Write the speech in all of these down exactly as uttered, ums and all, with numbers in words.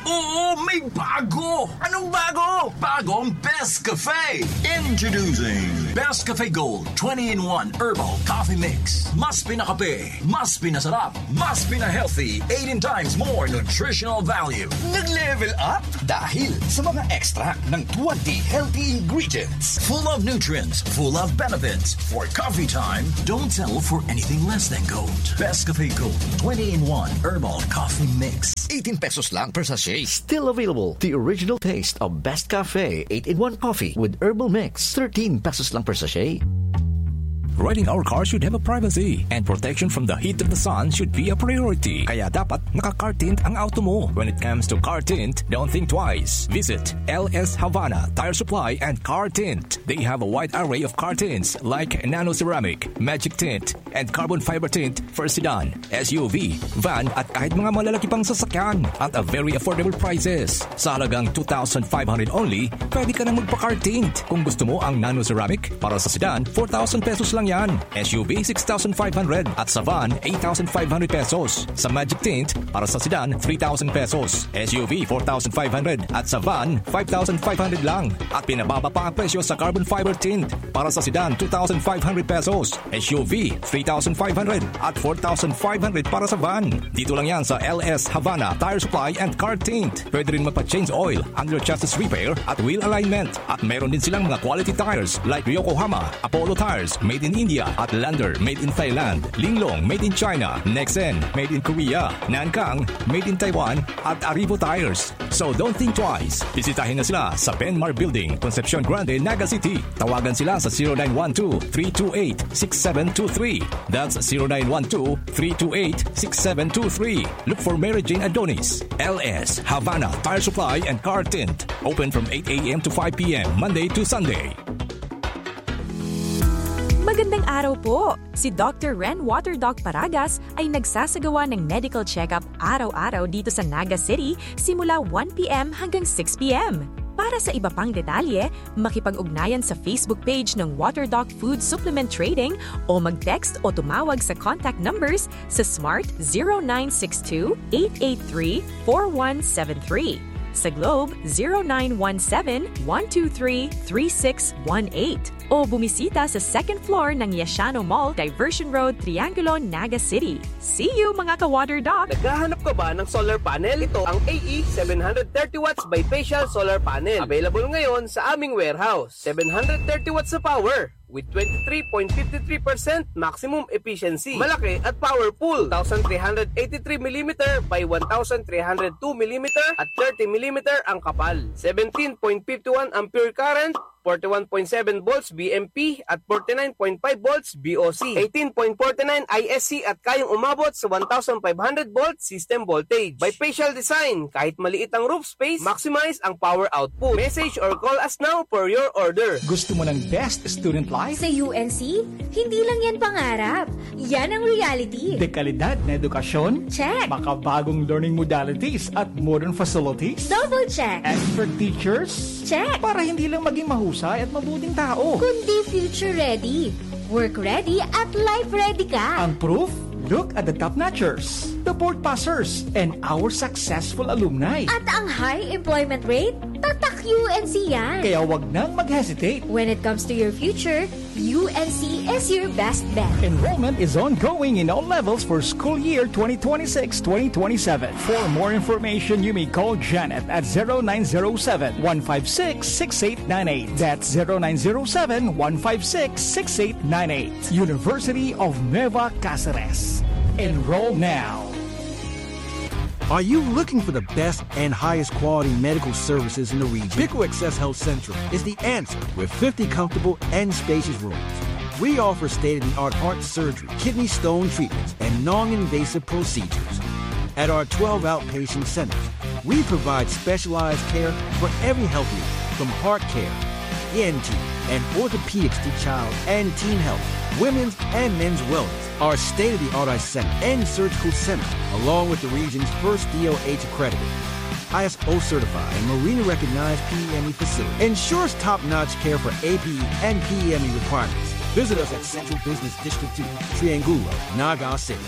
Oo, may bago! Anong bago? Bagong Best Cafe! Introducing Best Cafe Gold twenty-in-one Herbal Coffee Mix. Mas pinakape, mas pinasarap, mas pina-healthy, eighteen times more nutritional value. Nag-level up dahil sa mga extract ng twenty healthy ingredients. Full of nutrients, full of benefits. For coffee time, don't settle for anything less than gold. Best Cafe Gold twenty-in-one Herbal Coffee Mix. Eighteen pesos lang per sachet. Still available. The original taste of Best Cafe eight-in-one coffee with herbal mix. Thirteen pesos lang per sachet. Riding our car should have a privacy, and protection from the heat of the sun should be a priority. Kaya dapat naka-car tint ang auto mo. When it comes to car tint, don't think twice. Visit L S Havana Tire Supply and Car Tint. They have a wide array of car tints like nano ceramic, magic tint, and carbon fiber tint for sedan, S U V, van, at kahit mga malalaki pang sasakyan. At a very affordable prices. Sa halagang two thousand five hundred only, pwede ka nang magpa-car tint. Kung gusto mo ang nano ceramic, para sa sedan, four thousand pesos lang yan. S U V, six thousand five hundred. At sa van, eight thousand five hundred pesos. Sa magic tint, para sa sedan, three thousand pesos. S U V, four thousand five hundred. At sa van, five thousand five hundred lang. At pinababa pa ang presyo sa carbon fiber tint. Para sa sedan, two thousand five hundred pesos. S U V, three thousand five hundred. At four thousand five hundred para sa van. Dito lang yan sa L S Havana Tire Supply and Car Tint. Pwede rin magpa-change oil, under chassis repair, at wheel alignment. At meron din silang mga quality tires like Yokohama, Apollo Tires, made in India, at Lander, made in Thailand, Linglong, made in China, Nexen, made in Korea, Nankang, made in Taiwan, at Arrivo Tires. So don't think twice. Bisitahin na sila sa Benmar Building, Concepcion Grande, Naga City. Tawagan sila sa zero nine one two, three two eight, six seven two three. That's zero nine one two, three two eight, six seven two three. Look for Mary Jane Adonis. L S Havana Tire Supply and Car Tint. Open from eight a.m. to five p.m., Monday to Sunday. Magandang araw po! Si Doctor Ren Waterdoc Paragas ay nagsasagawa ng medical check-up araw-araw dito sa Naga City simula one p.m. hanggang six p.m. Para sa iba pang detalye, makipag-ugnayan sa Facebook page ng Waterdoc Food Supplement Trading o mag-text o tumawag sa contact numbers sa Smart zero nine six two, eight eight three, four one seven three. Sa Globe, zero nine one seven, one two three, three six one eight. O bumisita sa second floor ng Yashano Mall, Diversion Road, Triangulo, Naga City. See you, mga ka-Water Doc! Naghahanap ka ba ng solar panel? Ito ang A E seven hundred thirty watts bifacial solar panel. Available ngayon sa aming warehouse. Seven hundred thirty watts na power with twenty-three point fifty-three percent maximum efficiency. Malaki at powerful. Two thousand three hundred eighty-three millimeter by one thousand three hundred two millimeter at thirty millimeter ang kapal. Seventeen point fifty-one ampere current, forty-one point seven volts V M P at forty-nine point five volts V O C, eighteen point forty-nine I S C at kayang umabot sa one thousand five hundred volt system voltage. Bifacial design, kahit maliit ang roof space, maximize ang power output. Message or call us now for your order. Gusto mo ng best student life? Sa U N C, hindi lang yan pangarap. Yan ang reality. Dekalidad na edukasyon? Check. Makabagong learning modalities at modern facilities? Double check. Expert teachers? Check. Para hindi lang maging mahusay at mabuting tao. Kundi future ready, work ready at life ready ka. Ang proof? Look at the top notchers, the board passers, and our successful alumni. At ang high employment rate? Tatak U N C yan. Kaya wag nang mag-hesitate. When it comes to your future, U N C is your best bet. Enrollment is ongoing in all levels for school year twenty twenty-six twenty twenty-seven. For more information, you may call Janet at zero nine zero seven, one five six, six eight nine eight. That's zero nine zero seven, one five six, six eight nine eight. University of Nueva Cáceres. Enroll now. Are you looking for the best and highest quality medical services in the region? Pico Access Health Central is the answer with fifty comfortable and spacious rooms. We offer state-of-the-art heart surgery, kidney stone treatments, and non-invasive procedures. At our twelve outpatient centers, we provide specialized care for every health need, from heart care, E N T, and orthopedics to child and teen health, women's and men's wellness. Our state-of-the-art eye center and surgical center, along with the region's first D O H accredited, I S O certified, and Marina recognized P E M E facility, ensures top-notch care for A P E and P E M E requirements. Visit us at Central Business District two, Triangulo, Naga City.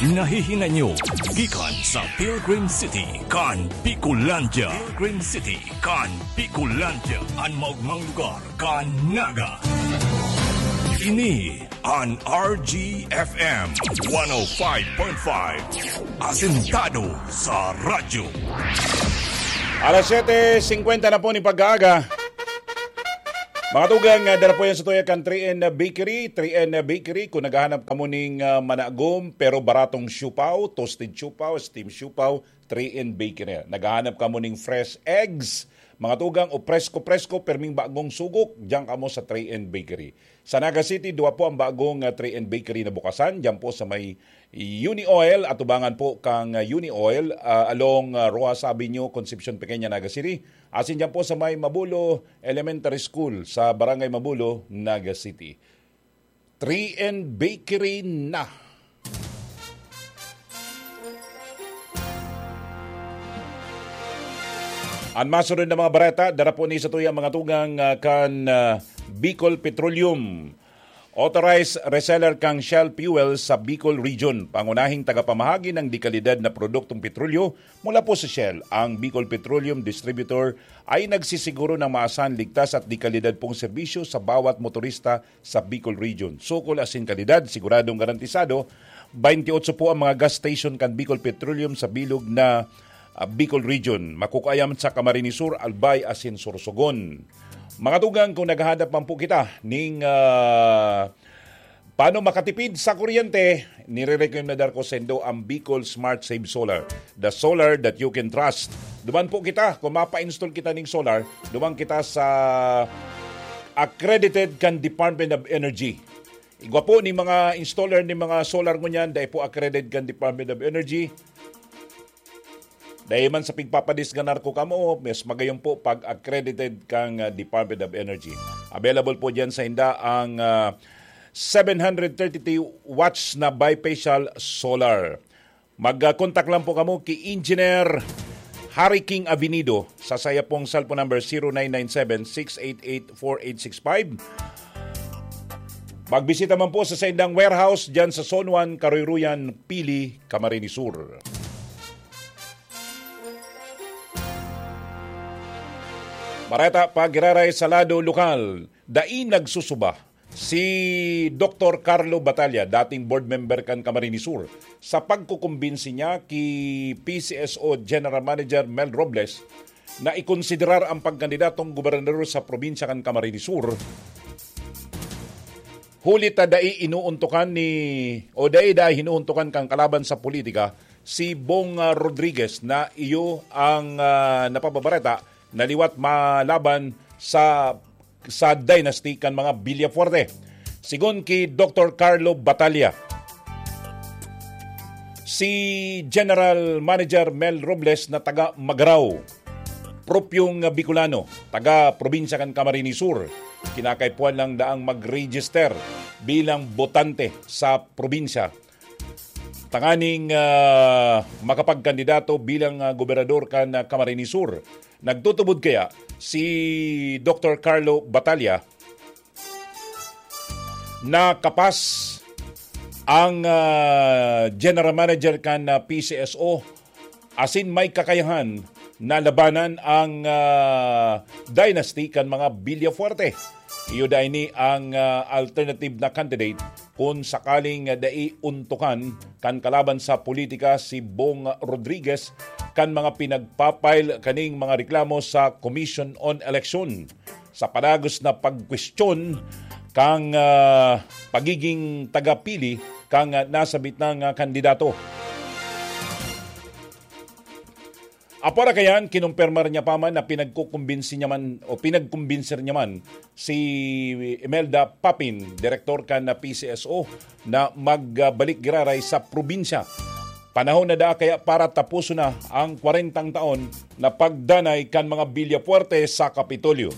Nahihinanyo gikan sa Pilgrim City kan Bicolandia. Pilgrim City kan Bicolandia, an maogmang lugar kan Naga. Ini an R G F M one oh five point five, asentado sa radyo. Alas siyete singkwenta na po ning pag-aaga. Mga tugang, ah, dara po yan sa tuya kan three N Bakery. Three N Bakery, kung naghahanap kamo ning, ah, managom pero baratong siopao, toasted siopao, steam siopao, three N Bakery. Naghahanap kamo ning fresh eggs, mga tugang, o presko-presko, perming bagong sugok, diyan kamo sa three N Bakery. Sa Naga City, duwa po ang bagong, ah, three N Bakery na bukasan, diyan po sa may Uni Oil, atubangan po kang, ah, Uni Oil, ah, along, ah, Roxas Avenue, Concepcion Pequeña, Naga City. Asin diyan po sa may Mabulo Elementary School, sa Barangay Mabulo, Naga City. Three N Bakery na. An masunod na mga bareta, dara po ni sa tuya mga tugang, ah, kan, ah, Bicol Petroleum. Authorized reseller kang Shell Fuel sa Bicol Region. Pangunahing tagapamahagi ng dekalidad na produktong petrolyo mula po sa Shell, ang Bicol Petroleum Distributor ay nagsisiguro ng maasahan, ligtas at dekalidad pong serbisyo sa bawat motorista sa Bicol Region. Sukol asin kalidad, siguradong garantisado. Twenty-eight po ang mga gas station kan Bicol Petroleum sa bilog na, ah, Bicol Region. Makukuha yan sa Camarines Sur, Albay asin Sorsogon. Mga tugang, kung naghahanap man po kita ning, ah, paano makatipid sa kuryente, nire-recommendar ko saindo ang Bicol Smart Save Solar, the solar that you can trust. Duman po kita, kung mapa-install kita ning solar, duman kita sa accredited kan Department of Energy. Igwa po ni mga installer ni mga solar ngunyan, dai po accredited kan Department of Energy. Dai man sa pigpapadisganar ko kamo, mas magayon po pag accredited kang, ah, Department of Energy. Available po diyan sa inda ang, ah, seven hundred thirty-two watts na bifacial solar. Mag, ah, contact lang po kamo ki Engineer Harry King Avenido sa saya pong cellphone number zero nine nine seven, six eight eight, four eight six five. Magbisita man po sa saindang warehouse diyan sa Zone one, Karuy-ruyan, Pili, Camarines Sur. Bareta pa giraray sa lado lokal, dai nagsusuba si Doktor Carlo Batalla, dating board member kan Camarines Sur, sa pagkukumbinsi niya ki P C S O General Manager Mel Robles na ikonsiderar ang pagkandidatong gobernador sa probinsya kan Camarines Sur. Huli ta dai inuuntukan ni, o dai, dai hinuuntukan kan kalaban sa politika, si Bong, ah, Rodriguez, na iyo ang, ah, napababareta na liwat malaban sa, sa dynasty kan mga Villafuerte. Sigon ki Doktor Carlo Batalla, si General Manager Mel Robles na taga Magarao, propyong Bicolano, taga probinsya kan Camarines Sur, kinakaipuhan lang daang mag-register bilang botante sa probinsya tanganing, ah, makapagkandidato bilang, ah, gobernador kan, ah, Camarines Sur. Nagtutubod kaya si Doktor Carlo Batalla na kapas ang, ah, general manager kan, ah, P C S O asin may kakayahan na labanan ang, ah, dynasty kan mga Villafuerte. Iyo dai ni ang, ah, alternative na candidate kun sakaling, ah, dai untukan kan kalaban sa politika si Bong Rodriguez kan mga pinagpa-file kaning mga reklamo sa Commission on Election sa padagos na pagkwestiyon kan, ah, pagiging tagapili kan, ah, nasabit na nga kandidato. Apwera kayan, kinumpirmar niya pa man na pinagkukumbinsi niya man o pinagkumbinser niya man si Imelda Papin, direktor kan P C S O, na magbalik giraray sa probinsya. Panahon na daa kaya para tapuson na ang kwarentang taon na pagdanay kan mga Villafuerte sa Kapitolyo.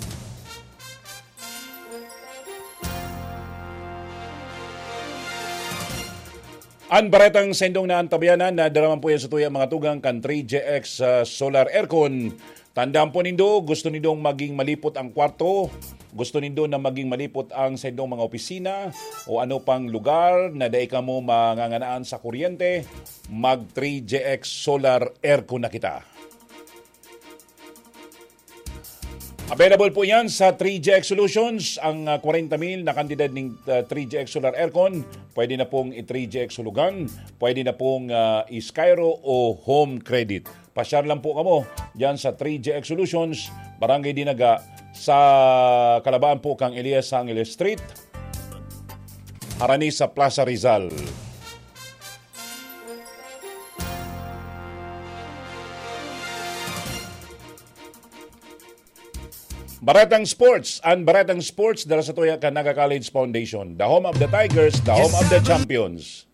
An baretang saindong naantabayanan, nadara man po yan sa tuyang mga tugang kan three J X, ah, Solar Aircon. Tandaan po nindo, gusto nindong maging malipot ang kwarto, gusto nindo na maging malipot ang sa indong mga opisina o ano pang lugar na dai kamo manganganaan sa kuryente, mag three G X Solar Aircon na kita. Available po yan sa three G X Solutions. Ang ah, kwarenta mil na kantidad ng ah, three G X Solar Aircon, pwede na pong i-three G X Hulugan, pwede na pong ah, i-Skyro o Home Credit. Pasyar lang po kamo dyan sa three G X Solutions, Barangay Dinaga, sa kalabaan po kang Elias Angeles Street, harani sa Plaza Rizal. Baretang Sports, ang Baretang Sports dala sa tuya kan Naga College Foundation, the home of the Tigers, the home of the champions.